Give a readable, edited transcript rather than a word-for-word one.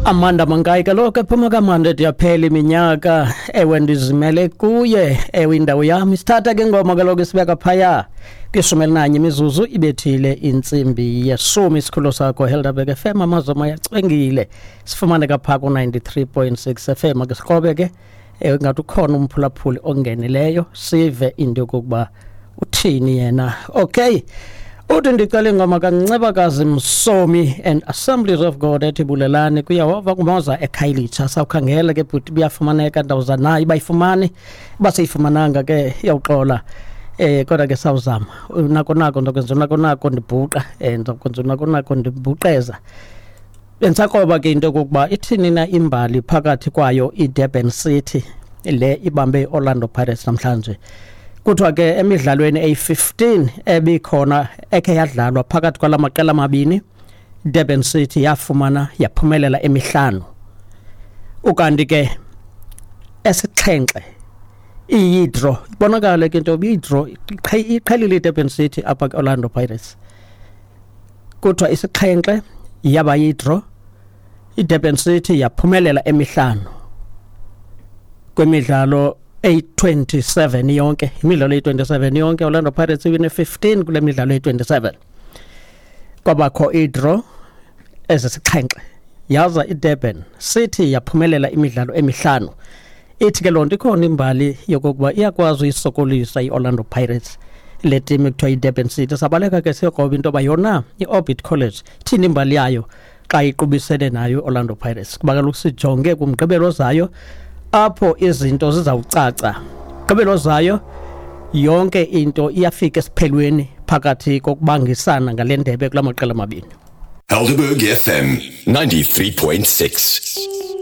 Amanda Mankayi kaloku ephuma kamanda yaphela iminyaka. Ewe, ndizimele kuye. Ewe, indawo yam isithatha ke ngoma kaloku isibeka phaya kwi-11 imizuzu ibethile intsimbi yeshumi. Isikhululo sakho Helderberg FM, amazwe ayacwengile, sifumaneka phaa ku-93.6 FM. Ake sikrobe ke, ngathi ukhona umphulaphuli ongenileyo, sive into yokokuba uthini yena. Okay, uthi ndicela ingoma kaNcebakazi Msomi and Assemblies of God ethi Bulelani kuYehova, kumoza eKhayelitsha. Sawukhangela ke bhuti, buyafumaneka ndawuza nayo, bayifumane baseyifumananga ke iyawuxola, kodwa ke sawuzama nako nako ndokwenza nako nako ndibhuqa, ndokwenza nako nako ndibhuqeza. Bendisakroba ke into yokokuba ithini na imbali phakathi kwayo iDurban City le ibambe iOrlando Pirates namhlanje. Kuthiwa ke emidlalweni eyi-15 ebikhona ekhe yadlalwa phakathi kwala maqela mabini, Durban City yafumana yaphumelela emihlanu, ukanti ke esixhenxe iyidraw. Ibonakala ke into iyidraw iqhelile iDurban City apha ke-Orlando Pirates. Kuthiwa isixhenxe yaba yidraw, iDurban City yaphumelela emihlanu kwemidlalo eyi-27 yonke. Imidlalo eyi-27 yonke, Orlando Pirates iwine 15 kule midlalo eyi-27, kwabakho idraw ezisixhenxe, yaza iDurban City yaphumelela imidlalo emihlanu. Ithi ke loo nto ikhona imbali yokokuba iyakwazi uyisokolisa i-Orlando Pirates le team ekuthiwa yiDurban City. Sabaleka ke siyokroba into yoba yona i-Orbit College ithini imbali yayo xa iqubisene nayo i-Orlando Pirates, kuba kaloku sijonge kumgqibelo ozayo apho izinto zizawucaca. Gqibelo ozayo yonke into iyafika esiphelweni phakathi kokubangisana ngale ndebe kula maqela mabini. Helderberg FM 93.6.